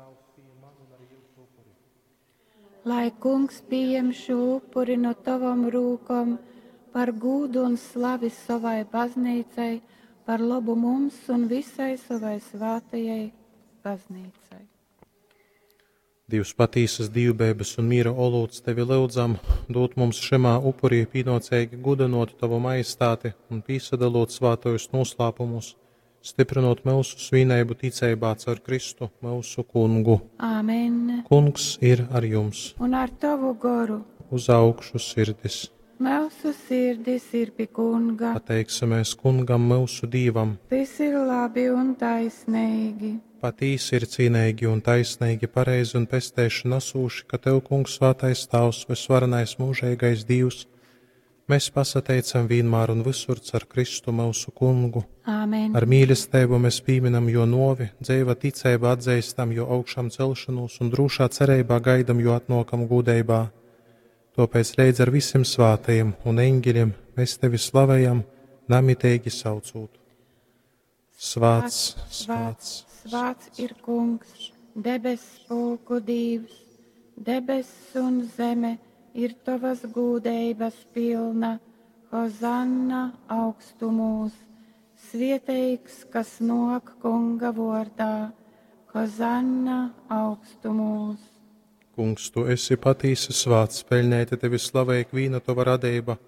Tāvs pījem manu un arī jūsu upuri. Lai kungs pieņem šo upuri no tavam rūkom par gūdu un slavi savai baznīcai, par labu mums un visai savai svātajai baznīcai. Dievs patīsas dīvbeibas un miera olūts tevi lyudzam, dūt mums šymā upurī pīnōceigi gudynōt tavu majestāti un pīsadalot svātojus noslāpumus, stiprinot myusu svineibu ticeibā caur Kristu, myusu kungu. Āmen. Kungs ir ar jums. Un ar tavu goru. Uz augšu sirdis. Mūsu sirdis ir pi kunga. Pateiksimies kungam myusu Dīvam. Tas ir labi un taisnīgi. Patīsi ir cīneigi un taisneigi, pareizi un pesteiši nasūši, ka Tev, Kungs, svātais Tāvs, vysvarenais mūžeigais Dīvs, mēs pasateicam vienmēr un visur car Kristu myusu kungu. Āmen. Ar mīlestību mēs pīminam jo novi, dzeiva ticeiba atzīstam jo augšām celšanos un drūšā cerībā gaidam jo atnokam gūdeibā. Tāpēc leidz ar visiem svātajiem un eņģeļiem mēs tevi slavējam, namiteigi saucot. Svāts, svāts, Svāts ir kungs, debes pulku dīvs, debes un zeme ir tavas gūdeibas pilna. Hozanna augstumūs, svieteigs, kas nok kunga vārdā. Hozanna augstumūs. Kungs, tu esi patīsi svāts, peļņēti tevi slavē ikvīna tava radība,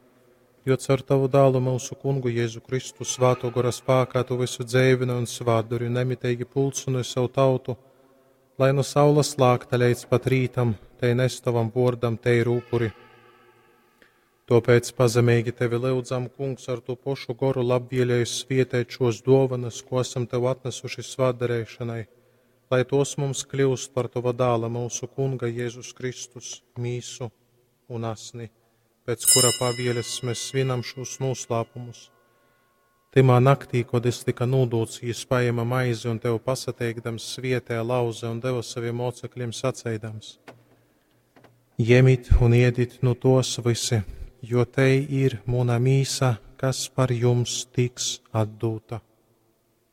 jo caur tavu dālu mūsu kungu Jēzu Kristu svāto gora spākā tu visu dzēvini un svātduri nemiteigi pulcini savu tautu, lai no saules lākta līdz pat rītam, te nes tavam vordam teiru upuri. Tāpēc pazemīgi tevi lūdzam, kungs, ar to pošu goru labvēlēju svietēt šos dovanas, ko esam tev atnesuši svātdarēšanai, lai tos mums kļūst par tava dāla mūsu kunga Jēzus Kristus mīsu un asni, pēc kura pavieles mēs svinam šos noslēpumus. Timā naktī, kad es tika nūdūts, jis paēma maizi un tev pasateikdams svietē lauze un deva saviem mocekļiem saceidams: Jemit un iedit nu tos visi, jo te ir muna mīsa, kas par jums tiks atdūta.